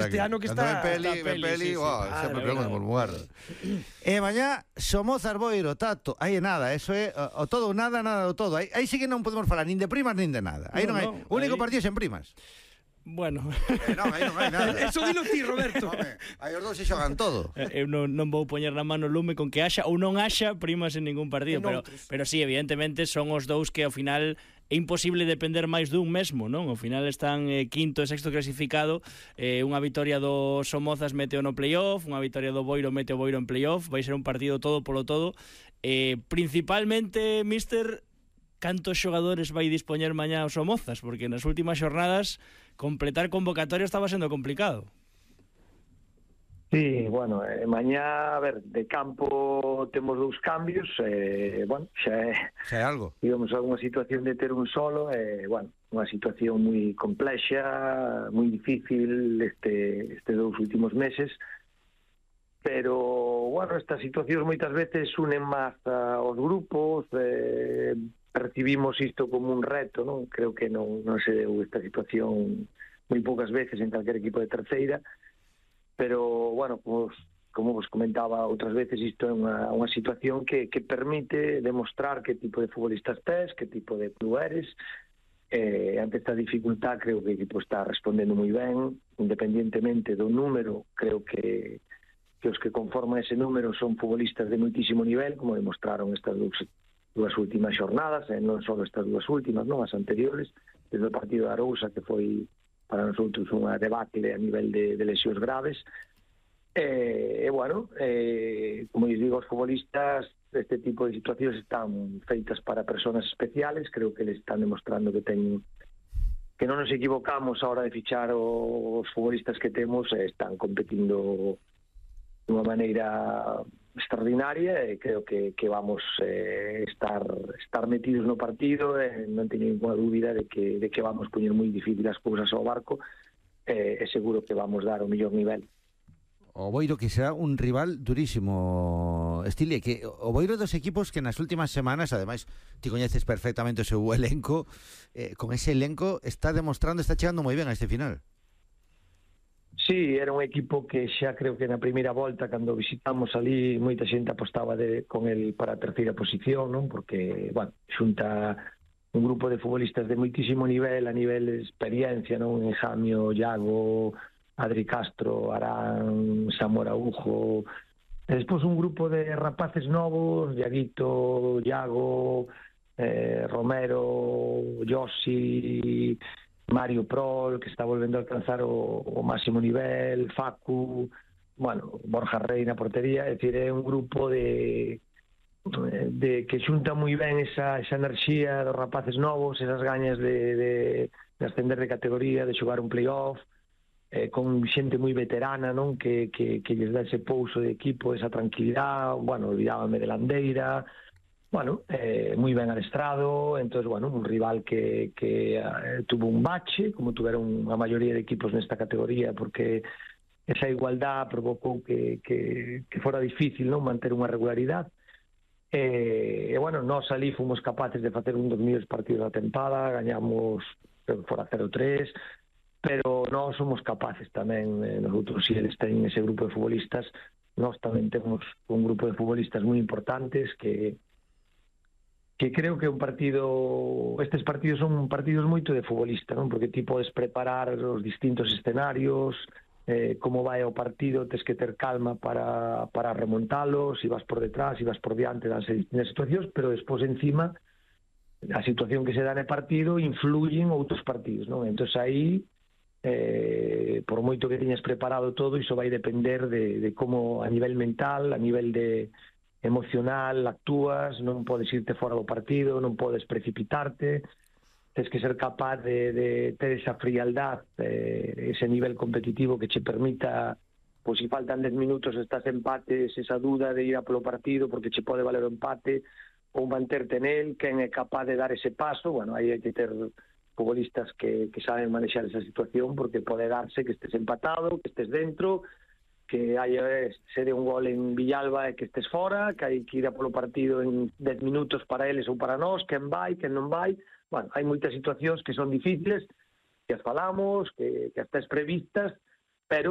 Este ano que Cando está... ven peli, sempre pegamos no mesmo lugar. E mañá, Somozas Boiro, Tato, aí é nada, eso é o todo ou nada, nada do todo. Aí sí que non podemos falar nin de primas nin de nada. Aí non hai, o único partido sen primas. Bueno, non, aí non hai nada. Eso dilo ti, Roberto. Home, aí os dous se xogan todo. Eu non vou poñer na mano lume con que haxa ou non haxa primas en ningún partido, pero sí, evidentemente son os dous que ao final é imposible depender máis dun mesmo, non? Ao final están quinto e sexto clasificado, unha vitoria do Somozas mete o no playoff, unha vitoria do Boiro mete o Boiro en playoff, vai ser un partido todo polo todo. Principalmente, míster, cantos xogadores vai dispoñer mañá os Somozas, porque nas últimas xornadas completar convocatoria estaba sendo complicado. Sí, bueno, mañá, a ver, de campo temos dous cambios, bueno, xa é algo. Digamos, alguna situación de ter un solo, bueno, unha situación moi complexa, moi difícil este dous últimos meses, pero, bueno, estas situacións moitas veces unen máis aos grupos, percibimos isto como un reto, non? Creo que non se deu esta situación moi poucas veces en calquer equipo de terceira, pero, bueno, pues, como vos comentaba outras veces, isto é unha situación que permite demostrar que tipo de futbolistas tes, que tipo de club eres. Ante esta dificultad creo que o equipo está respondendo moi ben, independientemente do número, creo que os que conforman ese número son futbolistas de moitísimo nivel, como demostraron estas dúas últimas xornadas, non só estas dúas últimas, non as anteriores, desde o partido de Arousa, que foi para nosotros unha debacle a nivel de lesións graves. Bueno, como eu digo, os futbolistas, este tipo de situacións están feitas para personas especiales, creo que les están demostrando que non nos equivocamos a hora de fichar os futbolistas que temos, están competindo dunha maneira extraordinaria e creo que vamos estar metidos no partido, non teño ninguna dúbida de que vamos poñer moi difícil as cousas ao barco e seguro que vamos dar o mellor nivel. O Boiro que será un rival durísimo, Estili, que o Boiro dos equipos que nas últimas semanas, ademais, ti coñeces perfectamente o seu elenco, con ese elenco está chegando moi ben a este final. Sí, era un equipo que xa creo que na primeira volta, cando visitamos ali, moita xente apostaba con el para a terceira posición, non? Porque, bueno, xunta un grupo de futbolistas de moitísimo nivel, a nivel de experiencia, non? Enjamio, Iago, Adri Castro, Arán, Samuel Araujo, e despois un grupo de rapaces novos, Iaguito, Iago, Romero, Yossi, Mario Prol, que está volvendo a alcanzar o máximo nivel, Facu, bueno, Borja Rey na portería, é dicir, é un grupo de que xunta moi ben esa enerxía dos rapaces novos, esas gañas de ascender de categoría, de xogar un playoff, con xente moi veterana, non, que lles dá ese pouso de equipo, esa tranquilidade, bueno, olvidábame de Landeira, bueno, moi ben adestrado, entonces, bueno, un rival que tuvo un bache, como tuveron a maioría de equipos nesta categoría, porque esa igualdad provocou que fora difícil, non, manter unha regularidade. E, bueno, nós ali fomos capaces de facer un dos mellores partidos da tempada, gañamos fora 0-3, pero nós somos capaces tamén, nosotros, si eles teñen ese grupo de futbolistas, nós tamén temos un grupo de futbolistas moi importantes que creo que un partido, estes partidos son partidos moito de futbolista, non? Porque ti podes preparar os distintos escenarios, como vai o partido, tes que ter calma para remontalo, si vas por detrás, si vas por diante, danse distintas situacións, pero despois encima a situación que se dá no partido influyen outros partidos, non? Entón aí, por moito que teñas preparado todo, iso vai depender de como a nivel mental, a nivel de emocional actúas, non podes irte fora do partido, non podes precipitarte, tens que ser capaz de ter esa frialdad, ese nivel competitivo que che permita, pois se faltan 10 minutos estás empates, esa duda de ir a polo partido porque che pode valer o empate ou manterte nel, quen é capaz de dar ese paso. Bueno, aí hai que ter futbolistas que saben manexar esa situación, porque pode darse que estés empatado, que estés dentro, que se dé un gol en Villalba e que estés fora, que hai que ir a polo partido en 10 minutos para eles ou para nós, quen vai, quen non vai. Bueno, hai moitas situacións que son difíciles, que as falamos, que as tes previstas, pero